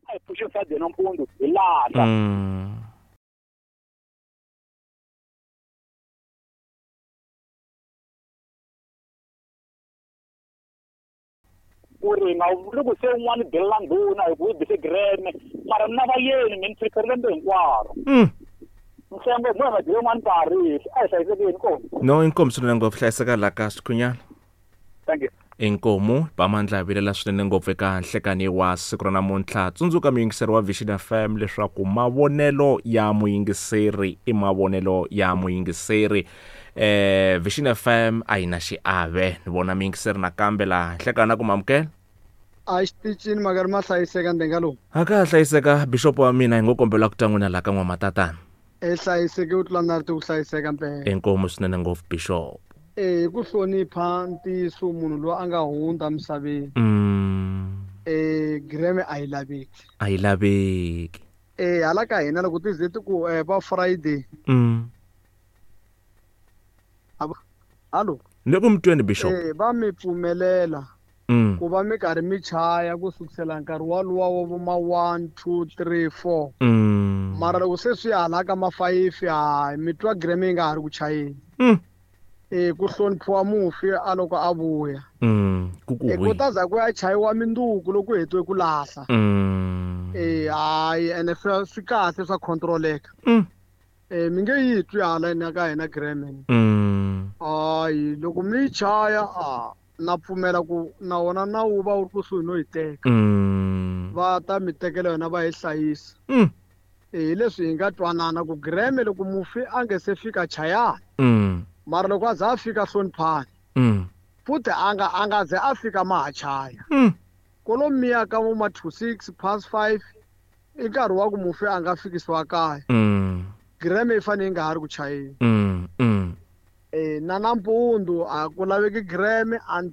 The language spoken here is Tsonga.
A hi pfuxeni Friday nampundzu hi lahla. Ku ri nga vuli ku se un'wana delela ndhuna hi ku yi bise gireme mara mina vayeni mi ni preferile lembe hinkwaro. Nhlengo hi nga dyi yin'wana nkarhi a hi hlayisekeni ko. No inkomu swinene ngopfu hlayiseka la ka Swikhunyana. Thank you. Inkomu Bamandla hi vilela swinene ngopfu eka nhlekani wa siku ra namuntlha. Tsundzuka muyingiseri wa Vision FM leswaku mavonelo ya muyingiseri i mavonelo ya muyingiseri. Vision FM a yi na xiave. Ni vona muyingiseri nakambe laha nhlekani na ku mamukela. A xitichini makari ma hlayiseka ndenga lowu. A ka ha hlayiseka bishop wa mina hi ngo kombela ku twa n'wina laha ka n'wamatatana. E hlayiseke u tlula na ri ku hlayiseka mpela. Inkomu swinene ngopfu bishop. E hi ku hlonipha ntiyiso munhu loyi a nga hundza misaveni. E gireme a yi laveki. A yi laveki. E hala ka hina loko ti ze ti ku va Friday. Hallo. Ni ku mi tweni bishop. E va mi pfumelela. Ku va mi karhi mi chaya ku sukusela nkarhi walowa wa vo ma 1 2 3 4. Mara loko se swi hala ka ma 5 hayi mi twa gireme yi nga ha ri ku chayeni. E ku hloniphiwa mufi a loko a vuya. Ku ku E ku ta za ku ya chayiwa minduku loko ku hetiwe ku lahla. E hayi ene swi kahle swa controleka. E mi nge yi twi hala ina ka hina gireme. Hayi loko mi yi chaya a na pfumela ku na wona nawu va wu ri kusuhi no yi teka. Va ta mi tekela yona va yi hlayisa. E hi leswi hi nga twanana ku gireme loko mufi a nge se fika chayani. Mara loko a za a fika hloniphani. Futhi a nga ze a fika ma ha chaya. Kolomiya ka vo ma 26 past 5 i nkarhi wa ku mufi a nga fikisiwa kaya. Gireme yi fanele yi nga ha ri ku chayeni. E na nampundzu a ku laveki gireme.